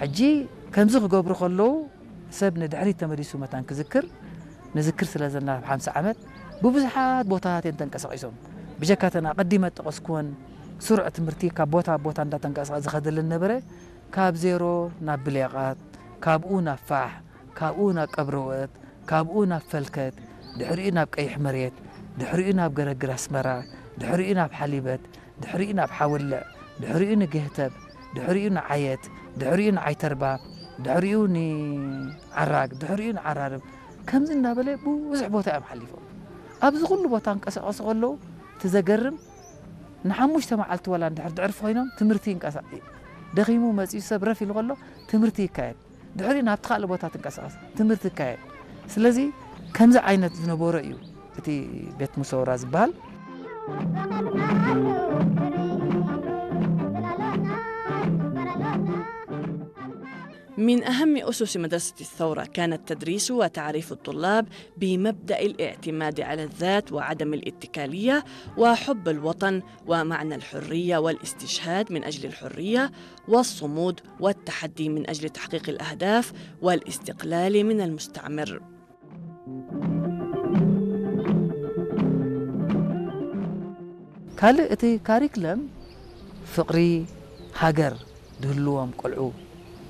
ሕጂ ከምዚ ክገብሩ ከለዉ ሰብ ንድሕሪት ተመሊሱ መታን ክዝክር ንዝክር ስለ ዘለና ኣብ ሓምሳ ዓመት ብብዙሓት ቦታታት እዮም ተንቀሳቒሶም። ብጀካ እተን ኣቐዲመ ጠቐስኩወን ስሩዕ ትምህርቲ ካብ ቦታ ኣብ ቦታ እንዳተንቀሳቐሰ ዝኸደለን ነበረ። ካብ ዜሮ ናብ ብሌቓት፣ ካብኡ ናብ ፋሕ፣ ካብኡ ናብ ቀብረወት፣ ካብኡ ናብ ፈልከት፣ ድሕሪኡ ናብ ቀይሕ መሬት፣ ድሕሪኡ ናብ ገረግር ኣስመራ፣ ድሕሪኡ ናብ ሓሊበት፣ ድሕሪኡ ናብ ሓወልዕ፣ ድሕሪኡ ንገህተብ፣ ድሕሪኡ ንዓየት፣ ድሕሪኡ ንዓይተርባ፣ ድሕሪኡ ንዓራግ፣ ድሕሪኡ ንዓራርብ፣ ከምዚ እናበለ ብዙሕ ቦታ እዮም ሓሊፎም። ኣብዚ ኩሉ ቦታ እንቀሳቐሱ ከለዉ እቲ ዘገርም ንሓሙሽተ መዓልቲ ዋላ እንድሕር ድዕርፊ ኮይኖም ትምህርቲ ይንቀሳ-፣ ደኺሙ መፂኡ ሰብ ረፍ ኢሉ ከሎ ትምህርቲ ይካየድ። ድሕሪ ናብቲ ካልእ ቦታ ትንቀሳቐስ ትምህርቲ ይካየድ። ስለዚ ከምዚ ዓይነት ዝነበሮ እዩ እቲ ቤት ሙሰውራ ዝበሃል። من أهم أسس مدرسة الثورة كان التدريس وتعريف الطلاب بمبدأ الاعتماد على الذات وعدم الاتكالية وحب الوطن ومعنى الحرية والاستشهاد من أجل الحرية والصمود والتحدي من أجل تحقيق الأهداف والاستقلال من المستعمر. ካልእ እቲ ካሪክለም ፍቕሪ ሃገር ድህልዎም ቆልዑ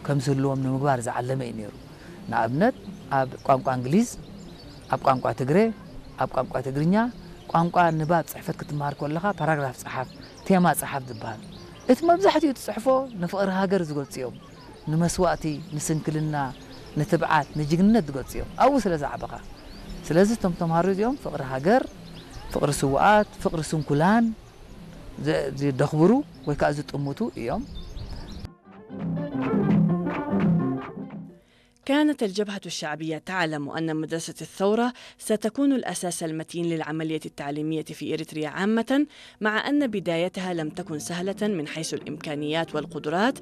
ከም ዝህልዎም ንምግባር ዝዓለመ እዩ ነይሩ። ንኣብነት ኣብ ቋንቋ እንግሊዝ፣ ኣብ ቋንቋ ትግረ፣ ኣብ ቋንቋ ትግርኛ ቋንቋ ንባብ ጽሕፈት ክትመሃር ከለኻ ፓራግራፍ ጸሓፍ፣ ቴማ ጸሓፍ ዝበሃል እቲ መብዛሕትኡ ትጽሕፎ ንፍቕሪ ሃገር ዝገልጹ እዮም። ንመስዋእቲ፣ ንስንክልና፣ ንትብዓት፣ ንጅግንነት ዝገልጹ እዮም። ኣብኡ ስለ ዝዓበኻ። ስለዚ እቶም ተምሃሮ እዚኦም ፍቕሪ ሃገር፣ ፍቕሪ ስውኣት፣ ፍቕሪ ስንኩላን ዘ-፣ ዘደኽብሩ ወይ ከዓ ዝጥምቱ እዮም። كانت الجبهة الشعبية تعلم أن مدرسة الثورة ستكون الأساس المتين للعملية التعليمية في إريتريا عامة، مع أن بدايتها لم تكن سهلة من حيث الإمكانيات والقدرات،